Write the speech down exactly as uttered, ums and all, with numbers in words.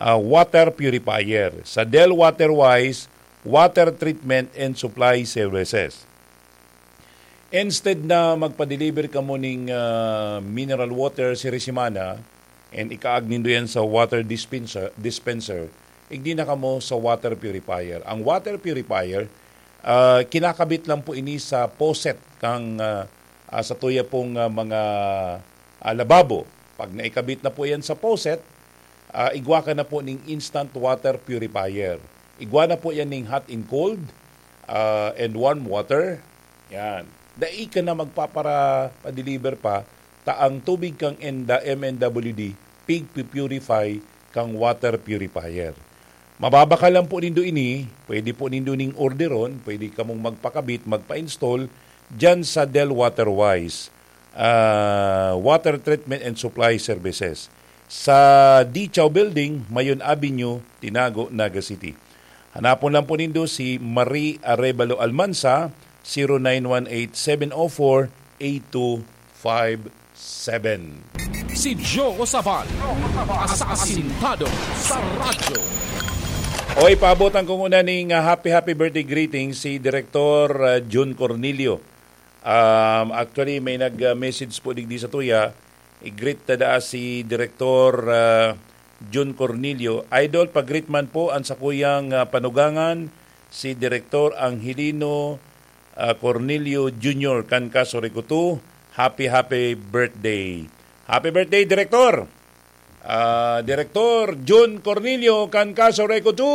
ah, water purifier, sa Del Waterwise Water Treatment and Supply Services. Instead na magpa-deliver kamo ning, ah, mineral water siri semana and ikaag nindo yan sa water dispenser, dispenser, igdi na kamo sa water purifier. Ang water purifier, ah, kinakabit lang po ini sa faucet kang, ah, ah, sa tuya pong, ah, mga, ah, lababo. Pag naikabit na po yan sa faucet, ah, igwa ka na po ning instant water purifier. Igwa na po yan ning hot and cold, ah, and warm water. Yan. Dai ka na magpapara pa-deliver pa, ta ang tubig kang enda M N W D, pig-purify kang water purifier. Mababakal lang po nindo ini, pwede po nindo ning orderon, pwede kamong magpakabit, magpa-install dyan sa Del Waterwise, ah, Water Treatment and Supply Services. Sa Dichaw Building, Mayon Avenue, Tinago, Naga City. Hanapon lang po nindo si Marie Arevalo Almansa, zero nine one eight seven oh four eight two five seven. Si Joe Sabal, asasintado sa radyo. Oy, paabotan ko muna ning, ah, happy, happy birthday greeting si Direktor, ah, Jun Cornelio. Um, actually, may nag-message po digdi sa tuya. I-greet ta daa si Direktor, ah, Jun Cornelio. Idol, pag-greet man po ang sakuyang, ah, panugangan, si Direktor Angelino, ah, Cornelio Junior kan Kaso Recotu. Happy, happy birthday. Happy birthday, Direktor! Ah, Direktor Jun Cornelio kan Kaso Recotu!